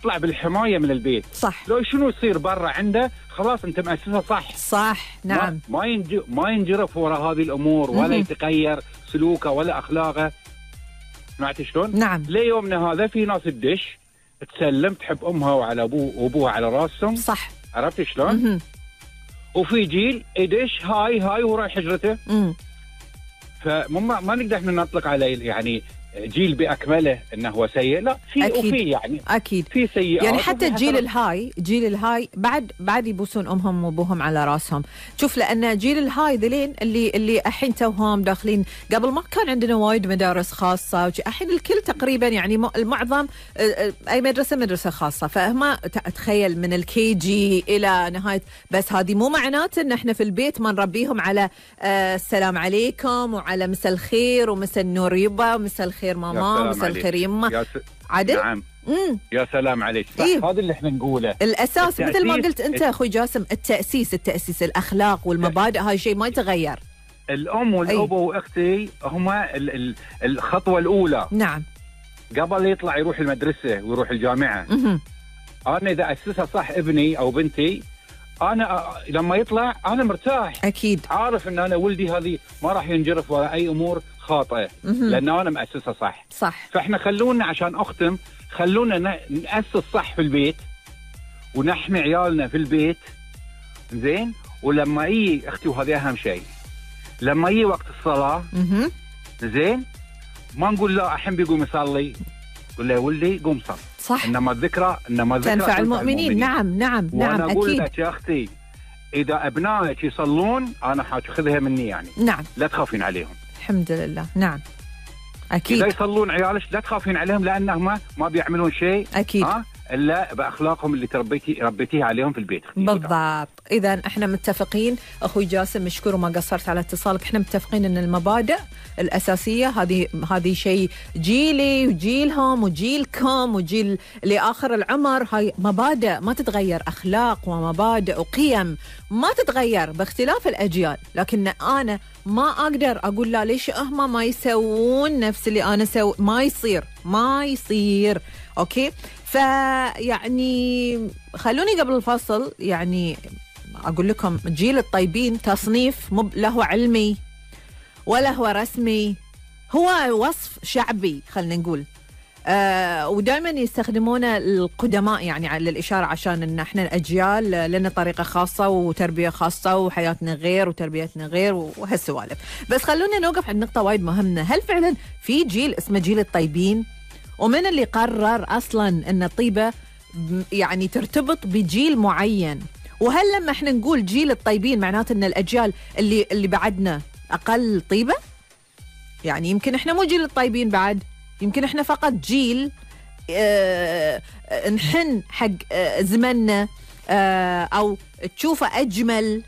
يطلع بالحماية من البيت. صح. لو شنو يصير برا عنده خلاص أنت مأسسه صح. صح. نعم. ما ينجرف وراء هذه الأمور ولا يتغير سلوكه ولا أخلاقه. سمعت شلون؟ نعم. ليومنا هذا في ناس تدش تسلم تحب أمها وعلى وأبوها على راسهم. صح. عرفت شلون؟ وفي جيل يدش هاي وراي حجرته. فما نقدر احنا نطلق عليه يعني جيل باكمله انه هو سيء. لا، في وفي يعني اكيد في سيئات. يعني حتى الجيل الهاي بعد يبوسون امهم وابوهم على راسهم. شوف، لان جيل الهاي ذلين اللي الحين توهم داخلين. قبل ما كان عندنا وايد مدارس خاصه، الحين الكل تقريبا يعني المعظم اي مدرسه خاصه. فما تخيل من الكي جي الى نهايه. بس هذه مو معناته ان احنا في البيت ما نربيهم على السلام عليكم وعلى مساء الخير ومساء النور يبا ومساء الخير ماما ومساء الخير يما. عدل؟ نعم. يا سلام عليك. صح. هذا اللي احنا نقوله. الاساس مثل ما قلت انت اخوي جاسم، التاسيس الاخلاق والمبادئ، هاي شيء ما يتغير. الام والابو واختي هما الخطوه الاولى. نعم. قبل يطلع يروح المدرسه ويروح الجامعه. انا اذا اسسها صح ابني او بنتي، انا لما يطلع انا مرتاح. اكيد. عارف ان انا ولدي هذه ما راح ينجرف ولا اي امور خاطئه، لان انا مؤسسها صح. فاحنا خلونا عشان اختم، خلونا نأسس صح في البيت ونحمي عيالنا في البيت. زين. ولما يجي اختي، وهذا اهم شيء، لما يجي وقت الصلاه زين ما نقول لا الحين بيقوم يصلي، قول له يا ولدي قوم صل. صح. انما الذكرى تنفع المؤمنين. نعم وانا اقول لك يا اختي، اذا ابنائك يصلون انا حاخذها مني يعني. نعم. لا تخافين عليهم. الحمد لله. نعم اكيد. اذا يصلون عيالك لا تخافين عليهم، لانهم ما بيعملون شيء اكيد الا باخلاقهم اللي ربيتيها عليهم في البيت. بالضبط. اذا احنا متفقين اخوي جاسم، مشكور وما قصرت على اتصالك. احنا متفقين ان المبادئ الاساسيه هذه شيء جيلي وجيلهم وجيلكم وجيل لاخر العمر. هاي مبادئ ما تتغير، اخلاق ومبادئ وقيم ما تتغير باختلاف الاجيال. لكن انا ما اقدر اقول لا ليش هم ما يسوون نفس اللي انا ما يصير. اوكي. فيعني خلوني قبل الفصل يعني أقول لكم، جيل الطيبين تصنيف مو له علمي ولا هو رسمي، هو وصف شعبي خلينا نقول. ودائما يستخدمونه القدماء يعني على الإشارة، عشان إن إحنا الأجيال لنا طريقة خاصة وتربية خاصة وحياتنا غير وتربيتنا غير وهالسوالف. بس خلونا نوقف عند نقطة وايد مهمة. هل فعلا في جيل اسمه جيل الطيبين؟ ومن اللي قرر أصلاً أن الطيبة يعني ترتبط بجيل معين؟ وهل لما احنا نقول جيل الطيبين معناته أن الأجيال اللي بعدنا أقل طيبة؟ يعني يمكن احنا مو جيل الطيبين بعد، يمكن احنا فقط جيل نحن حق زمننا أو تشوفه أجمل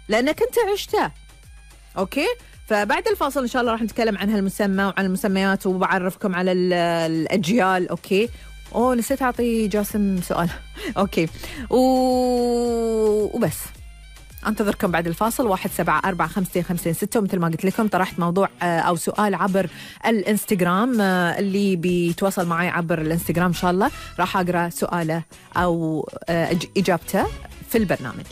لأنك أنت عشته. أوكي؟ فبعد الفاصل إن شاء الله راح نتكلم عن هالمسمى وعن المسميات وبعرفكم على الأجيال. أوكي. نسيت أعطي جاسم سؤال. أوكي. وبس أنتظركم بعد الفاصل. 174556. ومثل ما قلت لكم طرحت موضوع أو سؤال عبر الانستغرام. اللي بيتواصل معي عبر الانستغرام إن شاء الله راح أقرأ سؤاله أو إجابته في البرنامج.